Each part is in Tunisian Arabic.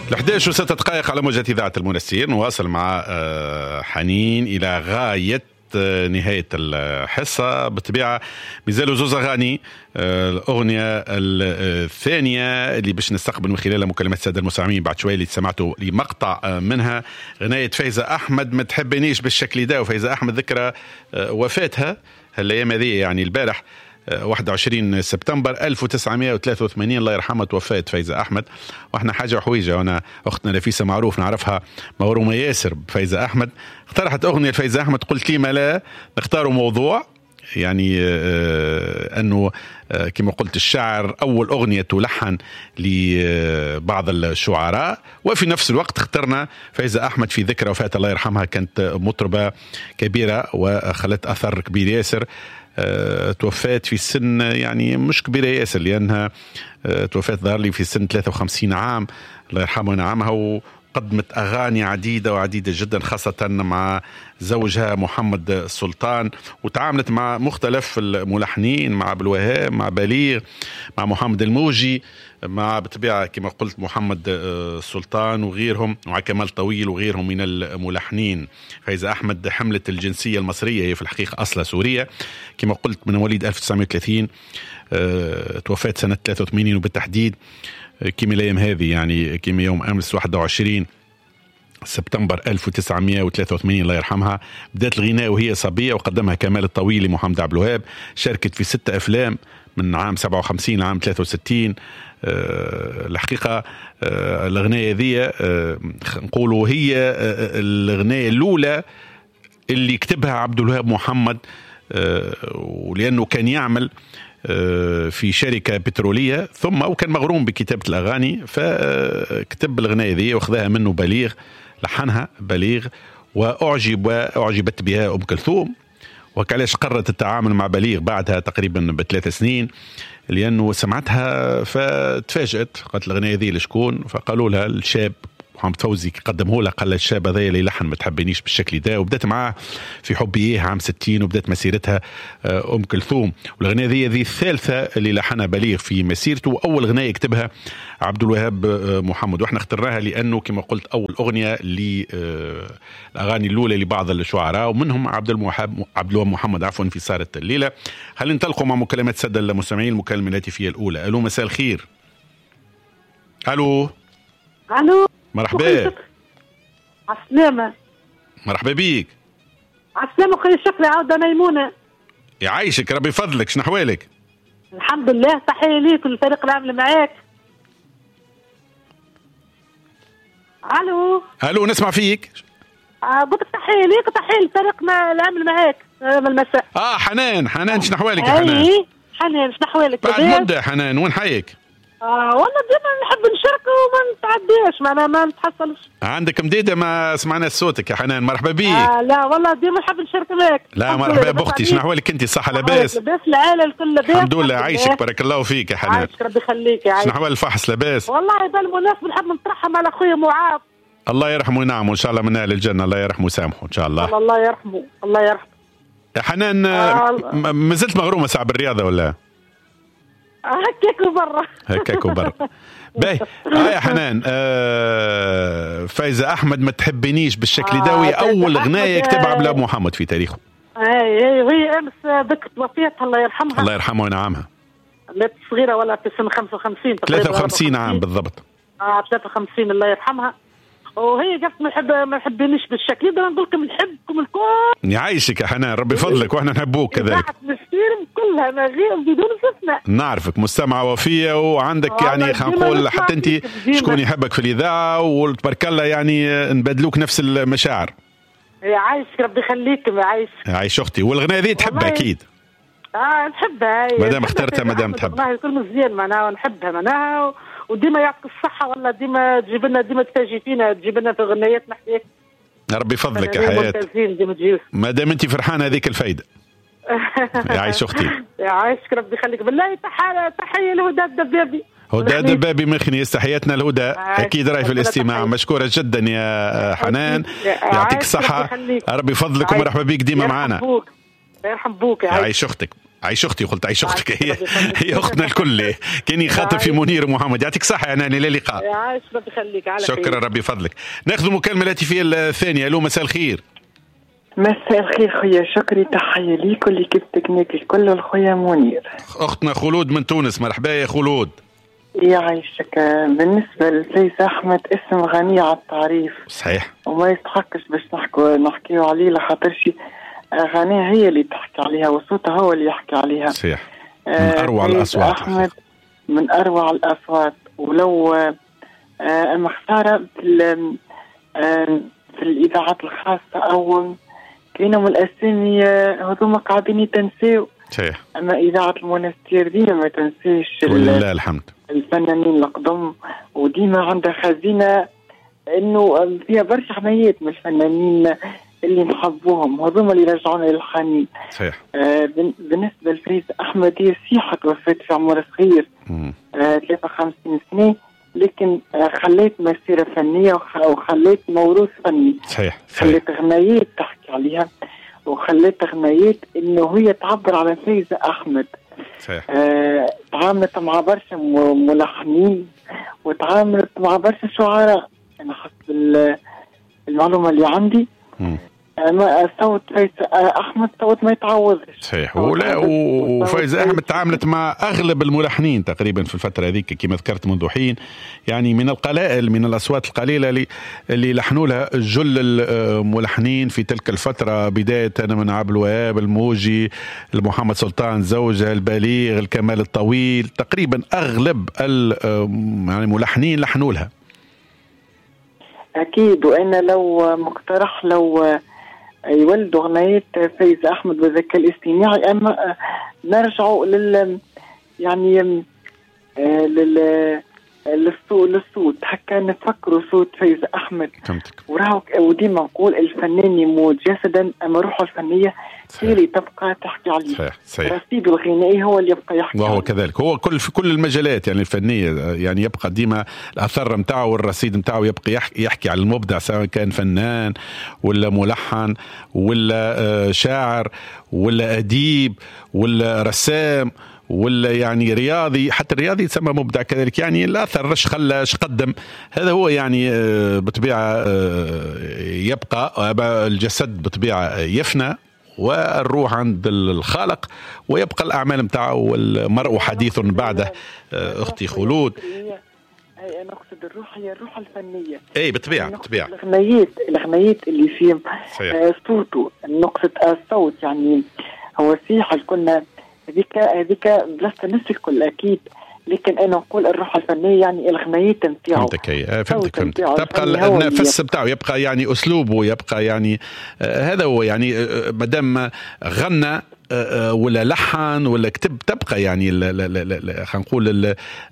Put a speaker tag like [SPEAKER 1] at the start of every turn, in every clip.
[SPEAKER 1] 11:06 على موجة إذاعة المنستير. نواصل مع حنين إلى غاية نهاية الحصة. بالطبيعة مازالوا زوز أغاني، الأغنية الثانية اللي باش نستقبل من خلالها مكالمات السادة المستمعين بعد شوية اللي سمعتوا لمقطع منها، غناية فايزة أحمد ما تحبنيش بالشكل ده. وفايزة أحمد ذكرى وفاتها هالأيام هذه، يعني البارح 21 سبتمبر 1983 الله يرحمها توفات فايزة أحمد. وإحنا حاجة وحويجة، وأنا أختنا نفيسة معروف نعرفها مغرومة ياسر بفايزة أحمد، اقترحت أغنية لفايزة أحمد، قلت لي ما لا نختاروا موضوع، يعني أنه كما قلت الشعر أول أغنية تلحن لبعض الشعراء، وفي نفس الوقت اخترنا فايزة أحمد في ذكرى وفاة الله يرحمها، كانت مطربة كبيرة وخلت أثر كبير ياسر. توفات في سن يعني مش كبيرة ياسر، لأنها توفات ظهر لي في سن 53 عام الله يرحمها ونعمها، وقدمت أغاني عديدة وعديدة جدا خاصة مع زوجها محمد السلطان، وتعاملت مع مختلف الملحنين، مع عبد الوهاب، مع بليغ، مع محمد الموجي، مع بالطبيعة كما قلت محمد السلطان وغيرهم، ومع كمال طويل وغيرهم من الملحنين. فايزة أحمد حملت الجنسية المصرية، هي في الحقيقة أصلها سورية كما قلت، من مواليد 1930، توفات سنة 83، وبالتحديد كما الأيام هذه يعني كما يوم أمس 21 سبتمبر 1983 الله يرحمها. بدأت الغناء وهي صبية، وقدمها كمال الطويل لمحمد عبد الوهاب. شاركت في 6 أفلام من عام 57 لعام 63. الحقيقة الأغنية ذي نقولوا هي الأغنية الأولى اللي كتبها عبد الوهاب محمد، ولأنه كان يعمل في شركة بترولية ثم وكان مغروم بكتابة الأغاني، فكتب الأغنية ذي وخذها منه بليغ، لحنها بليغ، وأعجبت بها أم كلثوم. وكعلاش قررت التعامل مع بليغ بعدها تقريبا ب3 سنين، لأنه سمعتها فتفاجأت، قالت الأغنية ذي لشكون؟ فقالوا لها الشاب محمد فوزي قدمه لها، قال الشاب هذا اللي لحن ما تحبنيش بالشكل ده، وبدأت معاه في حبي إيه عام 60، وبدأت مسيرتها أم كلثوم. والأغنية ذي الثالثة اللي لحنها بليغ في مسيرته، وأول أغنية يكتبها عبد الوهاب محمد. وإحنا اخترناها لأنه كما قلت أول أغنية للأغاني الأولى لبعض الشعراء، ومنهم عبد الوهاب محمد عفوا في سهرة الليلة. هل ننطلقوا مع مكالمات السادة المستمعين؟ المكالمة الهاتفية الأولى. ألو، مساء الخير. ألو. ألو، مرحبا.
[SPEAKER 2] عالسلامة.
[SPEAKER 1] مرحبا بيك.
[SPEAKER 2] عالسلامة خويا شكري، عودة ميمونة.
[SPEAKER 1] يعيشك ربي يفضلك، شنو أحوالك؟
[SPEAKER 2] الحمد لله، تحية ليك وللفريق العام اللي معاك. ألو.
[SPEAKER 1] ألو، نسمع فيك.
[SPEAKER 2] قلت تحية ليك وتحية للفريق العام اللي معاك من المساء.
[SPEAKER 1] حنان، حنان شنو أحوالك يا حنان؟
[SPEAKER 2] حنان شنو أحوالك؟
[SPEAKER 1] بعد مدة حنان، وين حيك؟
[SPEAKER 2] والله ديما نحب نشارك وما نتعداش، معناها ما نتحصلش.
[SPEAKER 1] عندك مديدة ما سمعنا صوتك يا حنان، مرحبا بيك.
[SPEAKER 2] لا والله ديما نحب نشارك معاك.
[SPEAKER 1] لا مرحبا بأختي، شنو أحوالك أنت؟ صحة لاباس؟
[SPEAKER 2] لاباس، العائلة الكل لاباس
[SPEAKER 1] الحمد لله. عايشك بارك الله فيك يا حنان.
[SPEAKER 2] عايشك ربي يخليك يا عايشك.
[SPEAKER 1] شنو أحوال الفحص لاباس؟
[SPEAKER 2] والله بالمناسبة نحب نترحم على خويا معاذ،
[SPEAKER 1] الله يرحمه وينعمه إن شاء الله، من أهل الجنة، الله يرحمه ويسامحه إن شاء الله.
[SPEAKER 2] الله يرحمه، الله يرحمه.
[SPEAKER 1] يا حنان ما زلت مغرومة ساعة بالرياضة ولا؟
[SPEAKER 2] هكاك وبرا.
[SPEAKER 1] هكاك وبرا. باهي يا حنان. فايزة أحمد ما تحبنيش بالشكل ده، وهي أول غناية يكتبها عبد الوهاب محمد في تاريخه.
[SPEAKER 2] اي وهي أمس ذكرت وفاتها الله يرحمها.
[SPEAKER 1] الله يرحمها وينعمها.
[SPEAKER 2] ماتت صغيرة ولا في سن 55 تقريبا.
[SPEAKER 1] 53 عام بالضبط.
[SPEAKER 2] 53 الله يرحمها. وهي قالت ما نحبنيش بالشكل ده، نقول لكم نحبكم الكل.
[SPEAKER 1] يعيشك يا حنان ربي يفضلك، واحنا نحبوك كذلك.
[SPEAKER 2] كلها ما غير بدون استثناء.
[SPEAKER 1] نعرفك مستمعة وفية، وعندك يعني خلينا نقول حتى انت شكون يحبك في الإذاعة، وتبارك الله يعني نبادلوك نفس المشاعر.
[SPEAKER 2] يعيشك ربي يخليك، يعيشك. يعيش
[SPEAKER 1] اختي، والغناء ذي تحبها اكيد.
[SPEAKER 2] نحبها
[SPEAKER 1] مادام اخترتها، مادام تحبها.
[SPEAKER 2] والله الكل مزيان معناها، ونحبها معناها، وديما يعطيك الصحة والله، ديما تجيب لنا، ديما تفاجئ فينا، تجيب لنا في غنيات نحكي.
[SPEAKER 1] ربي يفضلك يا حياة، مادام انت فرحانة هذيك الفايدة. يعيش اختي.
[SPEAKER 2] يعيشك ربي يخليك. بالله تحية لهدى الدبابي.
[SPEAKER 1] هدى الدبابي من خنيس، تحياتنا لهدى، اكيد راي في الاستماع. مشكورة جدا يا حنان، يعطيك الصحة، ربي يفضلك ومرحبا بك ديما معنا.
[SPEAKER 2] يرحم بوك.
[SPEAKER 1] يعيش اختك. عيش اختي، قلت عيش اختك، هي اختنا الكل، كان يخاطب في منير ومحمد. يعطيك الصحة يا ناني، الى اللقاء.
[SPEAKER 2] يعيش ربي يخليك، على خير.
[SPEAKER 1] شكرا ربي فضلك. ناخذ مكالمة الهاتفية الثانية. الو مساء الخير.
[SPEAKER 3] مساء الخير خويا شكري، تحية ليك ول l'équipe technique الكل والخويا منير.
[SPEAKER 1] اختنا خلود من تونس، مرحبا يا خلود.
[SPEAKER 3] يعيشك. بالنسبة لفايزة أحمد اسم غني على التعريف.
[SPEAKER 1] صحيح.
[SPEAKER 3] وما يستحقش باش نحكيو عليه، لخاطرش أغانيها هي اللي تحكي عليها وصوتها هو اللي يحكي عليها.
[SPEAKER 1] صحيح. من أروع الأصوات.
[SPEAKER 3] أحمد من أروع الأصوات، ولو أما خسارة في الإذاعات الخاصة أو كاينهم الأسامي هذوما قاعدين يتنساو.
[SPEAKER 1] صحيح.
[SPEAKER 3] أما إذاعة المونستير ديما ما تنساش
[SPEAKER 1] ولله الحمد
[SPEAKER 3] الفنانين القدم، وديما عندها خزينة إنه فيها برشا حمايات من الفنانين اللي نحبوهم، هذوما اللي رجعونا للحنين.
[SPEAKER 1] صحيح.
[SPEAKER 3] بالنسبة لفايزة أحمد هي صحيحة توفت في عمر صغير 53 سنة، لكن خليت مسيرة فنية وخليت موروث فني.
[SPEAKER 1] صحيح.
[SPEAKER 3] خليت غنايات تحكي عليها، وخليت غنايات إنه هي تعبر على فايزة أحمد.
[SPEAKER 1] صحيح.
[SPEAKER 3] تعاملت مع برشا ملحنين وتعاملت مع برشا شعراء، أنا حسب المعلومة اللي عندي. أما صوت فايزة أحمد صوت ما يتعوضش.
[SPEAKER 1] صحيح. ولا وفايزة أحمد تعاملت مع أغلب الملحنين تقريبا في الفترة هذيك كما ذكرت منذ حين، يعني من القلائل من الأصوات القليلة اللي لحنوا لها جل الملحنين في تلك الفترة، بداية من عبد الوهاب الموجي، محمد سلطان زوجها، البليغ، الكمال الطويل، تقريبا أغلب يعني الملحنين لحنوا لها.
[SPEAKER 3] أكيد. وأنا لو مقترح لو يولدوا أغنية فايزة أحمد بالذكاء الاصطناعي، أما نرجعوا لل يعني للصوت هكا نفكروا صوت فايزة أحمد.
[SPEAKER 1] فهمتك.
[SPEAKER 3] وراهو وديما نقول الفنان يموت جسدا، أما روحه الفنية هي اللي تبقى تحكي عليه.
[SPEAKER 1] صحيح. صحيح.
[SPEAKER 3] رصيده الغنائي هو اللي يبقى يحكي،
[SPEAKER 1] وهو كذلك هو كل في كل المجالات يعني الفنية، يعني يبقى ديما الأثر نتاعو والرصيد نتاعو يبقى يحكي على المبدع، سواء كان فنان ولا ملحن ولا شاعر ولا أديب ولا رسام ولا يعني رياضي، حتى الرياضي يتسمى مبدع كذلك. يعني الأثر اش خلى اش قدم، هذا هو يعني بطبيعة يبقى. الجسد بطبيعة يفنى والروح عند الخالق، ويبقى الأعمال متاعه والمرء حديث بعده. أختي خلود،
[SPEAKER 3] أنا أقصد الروح هي الروح الفنية.
[SPEAKER 1] أي بالطبيعة بالطبيعة.
[SPEAKER 3] الأغنيات اللي فيهم صوته، نقصد الصوت يعني هو صحيح كنا هذيك بلاصة الناس الكل أكيد، لكن أنا نقول الروح الفنية يعني الغنايات نتاعو.
[SPEAKER 1] فهمتك. فهمتك. تبقى النفس بتاعه يبقى يعني أسلوبه يبقى يعني هذا هو يعني مادام غنى ولا لحن ولا كتب تبقى يعني خلينا نقول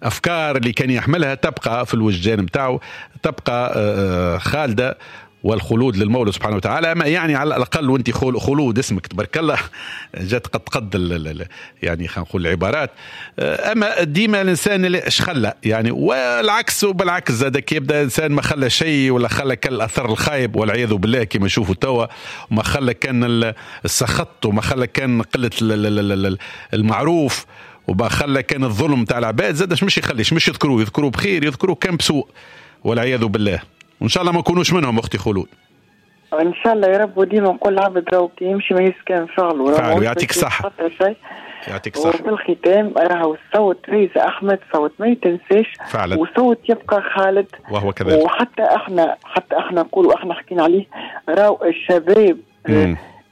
[SPEAKER 1] الأفكار اللي كان يحملها تبقى في الوجدان بتاعه، تبقى خالدة، والخلود للمولى سبحانه وتعالى. ما يعني على الأقل وانت خلود اسمك تبارك الله جات قد قد يعني خلينا نقول العبارات. أما ديما الإنسان اللي اش خلى يعني، والعكس وبالعكس زاد كي يبدأ إنسان ما خلى شيء ولا خلى كان الأثر الخايب والعياذ بالله كما نشوفوا توا، وما خلى كان السخط، وما خلى كان قلة المعروف، وما خلى كان الظلم تاع العباد، زاد مش يخليش مش يذكروه، يذكروه بخير يذكروه كان بسوء والعياذ بالله. وإن شاء الله ما نكونوش منهم أختي خلود.
[SPEAKER 3] إن شاء الله يا رب. وديما نقول العبد راهو كي يمشي ما يسكن فعله.
[SPEAKER 1] يعطيك الصحة. يعطيك الصحة.
[SPEAKER 3] وفي الختام راهو الصوت فايزة أحمد صوت ما يتنساش
[SPEAKER 1] فعلا،
[SPEAKER 3] وصوت يبقى خالد،
[SPEAKER 1] وهو كذلك.
[SPEAKER 3] وحتى احنا حتى احنا نقولوا احنا حكينا عليه، راهو الشباب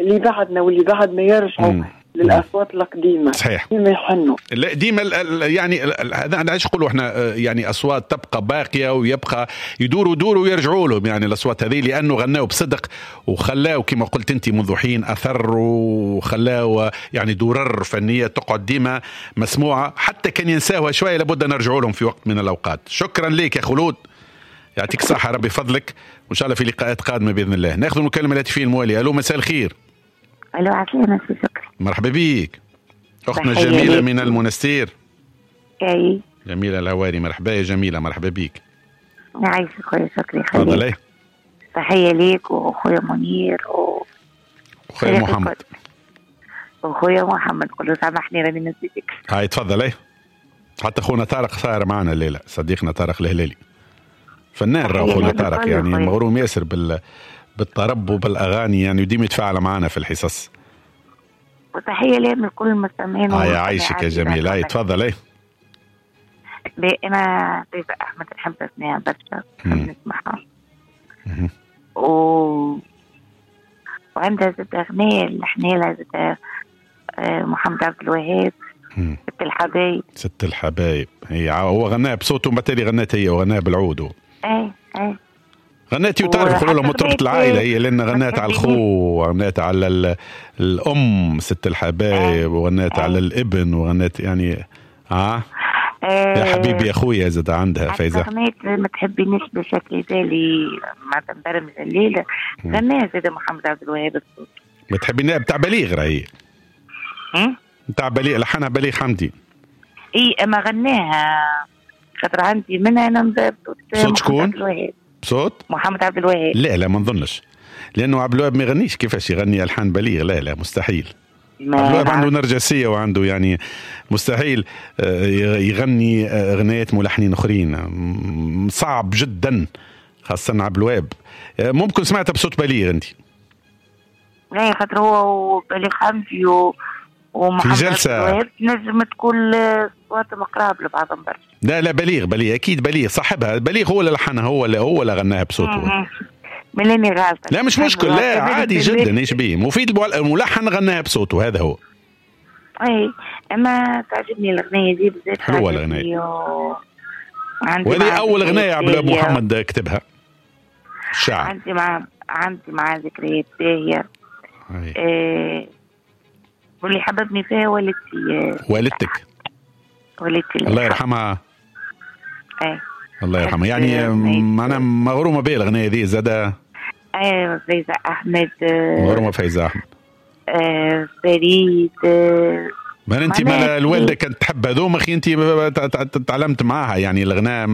[SPEAKER 3] اللي بعدنا واللي بعدنا يرجعوا للأصوات القديمة.
[SPEAKER 1] صحيح.
[SPEAKER 3] ديما يحنوا.
[SPEAKER 1] ديما يعني هذا علاش نقولوا احنا يعني أصوات تبقى باقية ويبقى يدوروا دوروا ويرجعوا لهم يعني الأصوات هذه، لأنه غناوا بصدق وخلاوا كما قلت أنت منذ حين أثر، وخلاوا يعني درر فنية تقعد ديما مسموعة، حتى كان ينساوها شوية لابد نرجعوا لهم في وقت من الأوقات. شكرا لك يا خلود، يعطيك الصحة ربي فضلك، وإن شاء الله في لقاءات قادمة بإذن الله. ناخذ المكالمة الهاتفية الموالية. ألو مساء الخير.
[SPEAKER 4] الو عسلامة سي شكري.
[SPEAKER 1] مرحبا بيك اختنا جميلة من المنستير.
[SPEAKER 4] اي
[SPEAKER 1] جميلة الهواري، مرحبا يا جميلة، مرحبا بيك.
[SPEAKER 4] يعيشك خويا شكري.
[SPEAKER 1] تفضلي.
[SPEAKER 4] تحية ليك وخويا منير
[SPEAKER 1] وخويا محمد.
[SPEAKER 4] وخويا محمد قول له سامحني راني نسيتك.
[SPEAKER 1] هاي تفضل. ايه حتى خونا طارق صار معنا الليلة، صديقنا طارق الهلالي فنان، راهو خونا طارق يعني مغروم ياسر بالطرب وبالاغاني يعني، وديما يتفاعل معنا في الحصص.
[SPEAKER 4] وتحية لي من كل المستمعين.
[SPEAKER 1] يعيشك يا جميل. هاي تفضل. ايه
[SPEAKER 4] انا فايزة احمد نحب اسمعها برشا، نحب نسمعها. وعندها زاد اغنية لحنيلها زاد محمد عبد الوهاب، ست الحبايب.
[SPEAKER 1] ست الحبايب هي هو غناها بصوته وما تالي غنات هي، وغناها بالعود.
[SPEAKER 4] اي اي
[SPEAKER 1] غناتي، وتعرف يقولوا لها مطربة العائلة هي، لأن غنات على الخو وغنات على الأم ست الحبايب، وغنات على الابن، وغنات يعني يا حبيبي يا خويا زاد عندها فايزة.
[SPEAKER 4] غنيت ما تحبينيش بشكل بالي مع برمج الليلة، غناها زاد محمد عبد الوهاب الصوت.
[SPEAKER 1] ما تحبيني بتاع بليغ راهي. بتاع بليغ، لحنها بليغ حمدي.
[SPEAKER 4] اي اما غناها خاطر عندي منها انا
[SPEAKER 1] بصوت شكون؟ بصوت
[SPEAKER 4] محمد عبد الوهاب. لا
[SPEAKER 1] لا ما نظنش، لانه عبد الوهاب ما يغنيش، كيفاش يغني الحان بليغ؟ لا لا مستحيل. عبد الوهاب عنده نرجسية وعنده يعني مستحيل يغني اغنيات ملحنين اخرين، صعب جدا، خاصة عبد الوهاب. ممكن سمعتها بصوت بليغ انت؟
[SPEAKER 4] لا خاطر هو بليغ حمدي ومحمد
[SPEAKER 1] في جلسه
[SPEAKER 4] نجم تكون صوتهم قراب لبعضهم برشا.
[SPEAKER 1] لا لا بليغ، بليغ اكيد، بليغ صاحبها، بليغ هو اللي لحنها، هو اللي غناها بصوته.
[SPEAKER 4] ملاني غالطه.
[SPEAKER 1] لا مش مشكل، لا عادي جدا، ايش بيه مفيد، الملحن غناها بصوته، هذا هو.
[SPEAKER 4] اي اما تعجبني الاغنية دي بالذات،
[SPEAKER 1] حلوة الاغنية. وهذه اول اغنية عبد محمد كتبها الشاعر.
[SPEAKER 4] عندي مع ذكريات باهيه. واللي حببني فيها والدتي.
[SPEAKER 1] والدتك؟
[SPEAKER 4] والدتي
[SPEAKER 1] الله يرحمها. ايه الله يرحمها. يعني معناها مغرومه بها الاغنية دي زاده.
[SPEAKER 4] ايه فايزة احمد،
[SPEAKER 1] مغرومه فايزة احمد.
[SPEAKER 4] فريد.
[SPEAKER 1] ما انت ما الوالدة كانت تحب هذوما، اخي انت تعلمت معاها يعني الغناء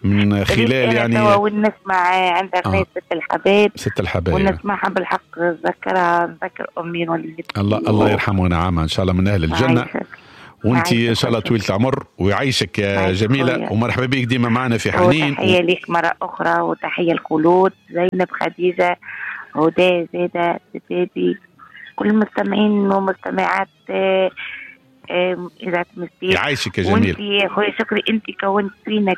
[SPEAKER 1] من خلال يعني.
[SPEAKER 4] ونسمع عندها اغنية ست الحبايب.
[SPEAKER 1] ست الحبايب
[SPEAKER 4] ونسمعها بالحق، نذكرها، نذكر امي والدتي.
[SPEAKER 1] الله يرحمه ونعمها ان شاء الله من اهل الجنة. وانت ان شاء الله طويلة العمر ويعيشك يا جميلة، ومرحبا بك ديما معنا في حنين.
[SPEAKER 4] وتحية لك مرة اخرى، وتحية الخلود زينب خديجة هدى زاده سيدي، كل المستمعين ومستمعات إذاعة المستير.
[SPEAKER 1] يعيشك يا جميل.
[SPEAKER 4] وانت يا خويا شكري، انت كونت فينا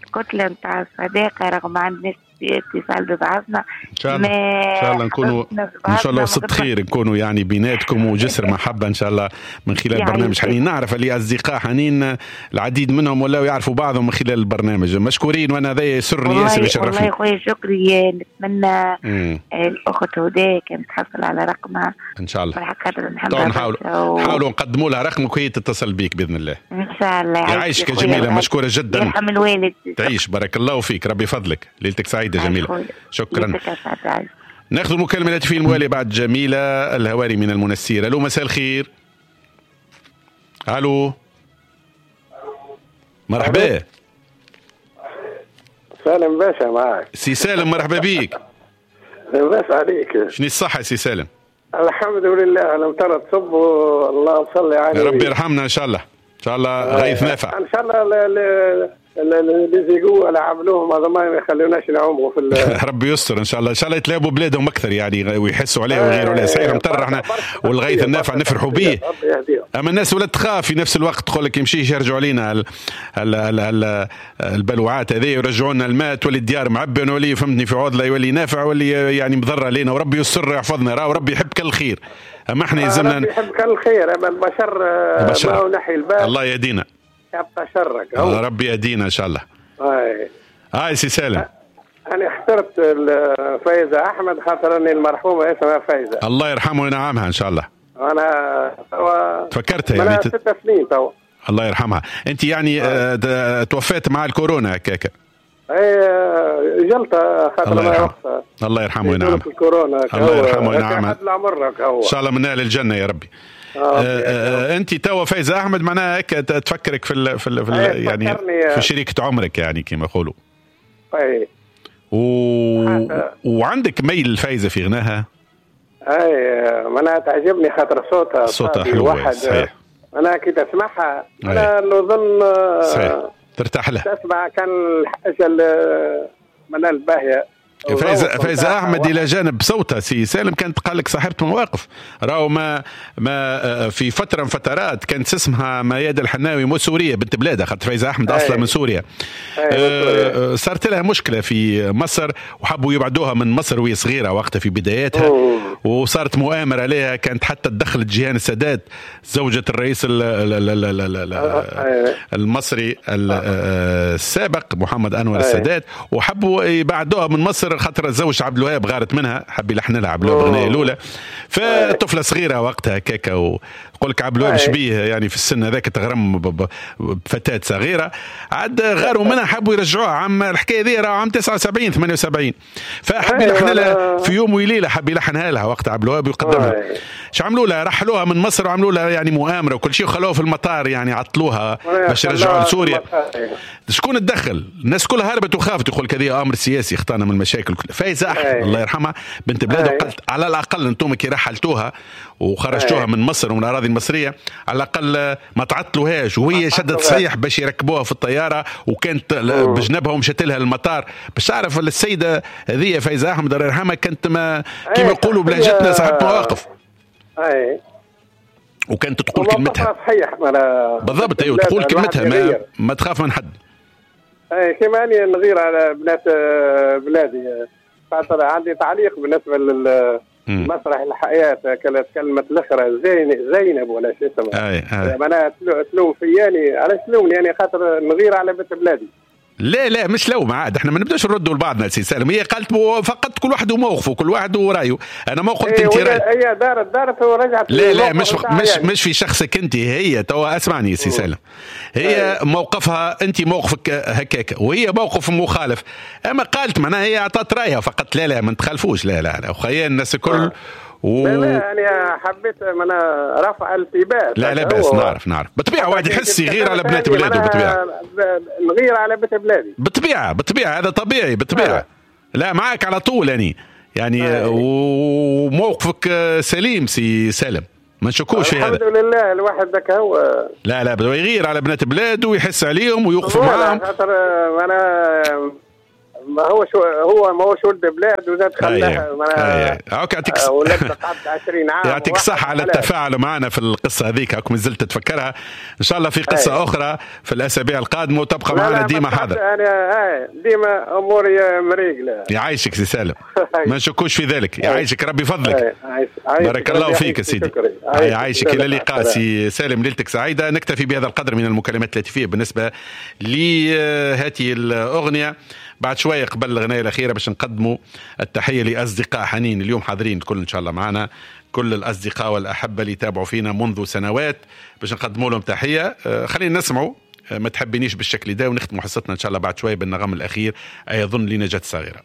[SPEAKER 4] الكتلة نتاع الصداقة رغم عندنا اتصال ببعضنا.
[SPEAKER 1] ان شاء الله ان شاء الله نكونوا ان شاء الله وسط خير، نكونوا يعني بيناتكم وجسر محبة ان شاء الله من خلال برنامج حنين. نعرف اللي اصدقاء حنين العديد منهم ولاو يعرفوا بعضهم من خلال البرنامج، مشكورين، وانا هذا يسرني ياسر ويشرفني.
[SPEAKER 4] والله يا خويا شكري، نتمنى الاخت هدى كانت تحصل على رقمها
[SPEAKER 1] ان شاء الله. نحاولوا نقدموا لها رقمك وهي تتصل بيك باذن الله.
[SPEAKER 4] ان شاء الله.
[SPEAKER 1] يعيشك يا جميلة، مشكورة جدا.
[SPEAKER 4] يرحم الوالد.
[SPEAKER 1] تعيش، بارك الله فيك، ربي يفضلك، ليلتك سعيدة جميلة. شكرا. ناخذ المكالمة الهاتفية الموالية بعد جميلة الهواري من المنسير. الو مساء الخير. الو مرحبا.
[SPEAKER 5] سالم باشا معك.
[SPEAKER 1] سي سالم مرحبا بيك.
[SPEAKER 5] لاباس عليك.
[SPEAKER 1] شنو الصحة سي سالم؟
[SPEAKER 5] الحمد لله، الأمطار تصب والله صلي عليه.
[SPEAKER 1] ربي يرحمنا ان شاء الله. ان شاء الله غيث نافع
[SPEAKER 5] ان شاء الله. les égouts اللي عملوهم هذا ما يخلوناش نعوموا في
[SPEAKER 1] ربي يستر ان شاء الله. ان شاء الله يتلعبوا بلادهم اكثر يعني، ويحسوا عليه ويغيروا عليه. صحيح مطر احنا والغيث النافع نفرحوا به، اما الناس ولا تخاف في نفس الوقت، تقول لك يمشي يرجعوا علينا البلوعات هذه، يرجعوا لنا الماء، تولي الديار معبيه، ونولي فهمتني في عوض لا يولي نافع ولي يعني مضرة علينا. وربي يستر يحفظنا، راه وربي يحب كل الخير، اما احنا يلزمنا
[SPEAKER 5] ربي يحب كل الخير، اما البشر ما هو نحي البال.
[SPEAKER 1] الله يهدينا،
[SPEAKER 5] يبقى شرك.
[SPEAKER 1] ربي يهدينا ان شاء الله. هاي سي سالم،
[SPEAKER 5] انا اخترت فايزة احمد خاطر اني المرحومة اسمها فايزة،
[SPEAKER 1] الله يرحمه وينعمها ان شاء الله.
[SPEAKER 5] انا
[SPEAKER 1] تفكرتها يعني
[SPEAKER 5] 6 سنين تو.
[SPEAKER 1] الله يرحمها. انت يعني توفيت مع الكورونا هكاك؟
[SPEAKER 5] اي جلطة خاطر ما وقتها.
[SPEAKER 1] الله يرحمه وينعمها.
[SPEAKER 5] الكورونا
[SPEAKER 1] الله يرحمه وينعمها، ان شاء الله من اهل الجنة يا ربي. انت توا فايزة احمد معناها هيك تفكرك في ال في, ال في ال يعني في شريكة عمرك يعني كما يقولوا.
[SPEAKER 5] اي
[SPEAKER 1] وعندك ميل الفايزة في غناها؟
[SPEAKER 5] اي معناها تعجبني خاطر صوتها
[SPEAKER 1] حلو واحد. صحيح.
[SPEAKER 5] انا كي تسمعها انا نظن
[SPEAKER 1] صحيح ترتاح لها،
[SPEAKER 5] تسمع كان الحاجة معناها الباهيه.
[SPEAKER 1] فايزة أحمد إلى جانب صوتها سي سالم كانت قال لك صاحبة مواقف، راهو ما في فترة من فترات كانت اسمها ميادة الحناوي مو سورية بنت بلادها، خاطر فايزة أحمد أصلا من سوريا. صارت لها مشكلة في مصر وحبوا يبعدوها من مصر وهي صغيرة وقتها في بداياتها، وصارت مؤامرة عليها، كانت حتى تدخلت جيهان السادات زوجة الرئيس المصري السابق محمد أنور السادات، وحبوا يبعدوها من مصر خاطر الزوج عبد الوهاب غارت منها، حب يلحن لها عبد الوهاب الاغنية الاولى، فطفله صغيرة وقتها كاكا، ويقول لك عبد الوهاب شبيه يعني في السن هذاك تغرم بفتاة صغيرة، عاد غاروا منها حبوا يرجعوها. عام الحكاية ذي راه عام 79 78، فحب يلحن لها في يوم وليلة، حب يلحنها لها وقت عبد الوهاب ويقدمها. اش عملوا لها؟ رحلوها من مصر وعملوا لها يعني مؤامرة وكل شيء، وخلوها في المطار يعني عطلوها باش يرجعوها لسوريا. شكون تدخل؟ الناس كلها هربت وخافت، يقول لك هذه امر سياسي اخطانا من المشاكل. فايزة أحمد الله يرحمها بنت بلاده قالت على الأقل أنتم كي رحلتوها وخرجتوها من مصر ومن الأراضي المصرية على الأقل ما تعطلوهاش، وهي شدت صحيح باش يركبوها في الطيارة، وكانت بجنبها ومشت لها المطار باش تعرف السيدة هذه فايزة أحمد الله يرحمها كانت ما كما يقولوا بلهجتنا صاحبة مواقف. وكانت تقول كلمتها
[SPEAKER 5] صحيح
[SPEAKER 1] بالضبط، ايوه تقول كلمتها ما تخاف من حد.
[SPEAKER 5] اي كما اني نغير على بنات بلادي، خاطر عندي تعليق بالنسبة للمسرح الحياة، كلمة الاخرى زينب ولا شو اسمها، معناها تلوم فياني، علاش تلومني يعني؟ خاطر نغير على بنت بلادي.
[SPEAKER 1] لا لا مش لوم عاد، احنا ما نبداش نردوا لبعضنا سي سالم. هي قالت فقط كل واحد وموقفه، كل واحد ورايه. انا ما قلت انت راي،
[SPEAKER 5] هي دارت ورجعت.
[SPEAKER 1] لا لا مش مش يعني. مش في شخصك انت، هي توا اسمعني سي سالم، هي موقفها انت موقفك هكاك وهي موقف مخالف، اما قالت معناها هي اعطت رايها فقط. لا لا ما نتخالفوش، لا لا لا وخيال الناس الكل
[SPEAKER 5] لا لا انا حبيت انا رفع التباس.
[SPEAKER 1] لا لا بس نعرف بالطبيعة واحد يحس يغير على بنات بلاده، بالطبيعة
[SPEAKER 5] نغير على بنت بلادي،
[SPEAKER 1] بالطبيعة هذا طبيعي بالطبيعة. لا معاك على طول يعني وموقفك سليم سي سالم، ما نشكوش في هذا.
[SPEAKER 5] الحمد لله الواحد ذاك هو.
[SPEAKER 1] لا لا بده يغير على بنات بلاده ويحس عليهم ويوقف معاهم،
[SPEAKER 5] خاطر انا ما هو شو هو ما هوش ولد بلاد وزاد خلاها
[SPEAKER 1] يعطيك
[SPEAKER 5] قعدت 20 عام.
[SPEAKER 1] يعطيك الصحة على التفاعل معنا في القصة هذيك، هاك مازلت تتفكرها. إن شاء الله في قصة أخرى في الأسابيع القادمة، وتبقى معنا ديما حاضر.
[SPEAKER 5] أنا ديما أموري مريقلة.
[SPEAKER 1] يعيشك سي سالم، ما نشكوش في ذلك. يعيشك ربي فضلك، بارك الله فيك يا سيدي. يعيشك، إلى اللقاء سي سالم، ليلتك سعيدة. نكتفي بهذا القدر من المكالمات الهاتفية بالنسبة لهذه الأغنية. بعد شوية قبل الغناية الأخيرة باش نقدموا التحية لأصدقاء حنين اليوم حاضرين الكل إن شاء الله معنا، كل الأصدقاء والأحبة اللي تابعوا فينا منذ سنوات باش نقدموا لهم تحية. خلينا نسمعوا ما تحبنيش بالشكل ده، ونختموا حصتنا إن شاء الله بعد شوية بالنغم الأخير أيظن لنجاة الصغيرة.